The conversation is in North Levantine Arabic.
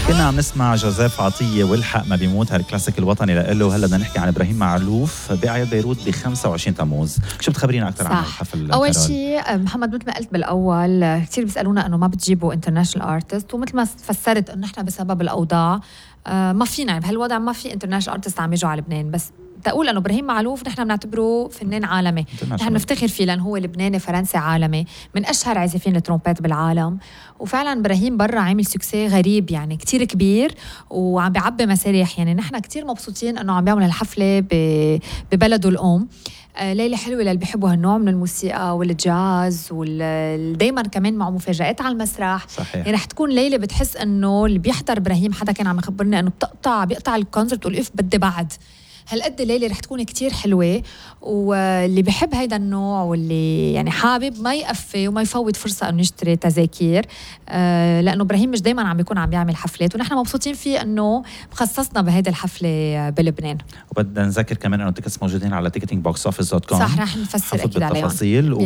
كنا عم نسمع جوزيف عطية والحق ما بيموت، هالكلاسيك الوطني لإله. وهلا بدنا نحكي عن إبراهيم معلوف بأعياد بيروت ب 25 تموز. شو بتخبرينا أكثر عن الحفل؟ أول شيء محمد، مثل ما قلت بالأول كتير بيسألونا أنه ما بتجيبوا انترناشنال ارتست، ومثل ما فسرت أنه نحن بسبب الأوضاع ما فينا بهالوضع ما في انترناشنال ارتست عم يجوا على لبنان. بس تقول أنه إبراهيم معلوف نحن بنعتبره فنان عالمي، نحن بنفتخر فيه لأنه هو لبناني فرنسي عالمي من أشهر عازفين الترومبيت بالعالم. وفعلا إبراهيم برا عامل سوكسي غريب يعني كتير كبير وعم بيعبي مسارح. يعني نحن كتير مبسوطين أنه عم بيعمل الحفلة ببلده الأم. ليلة حلوة للي بيحبوا هالنوع من الموسيقى والجاز ودايما كمان معه مفاجآت على المسرح. صحيح. يعني رح تكون ليلة بتحس أنه اللي بيحضر إبراهيم، حدا كان عم يخبرني أنه بيقطع الكونسرت والقف بدي بعد. هالقد الليلة رح تكون كتير حلوة، واللي بحب هيدا النوع واللي يعني حابب ما يقفي وما يفوت فرصة أنه يشتري تذاكير، لأنه إبراهيم مش دايما عم بيكون عم بيعمل حفلات، ونحن مبسوطين فيه أنه مخصصنا بهيدا الحفلة بلبنان. وبدنا نذكر كمان أنه التيكتس موجودين على ticketingboxoffice.com. صح، رح نفسر أكيد عليهم.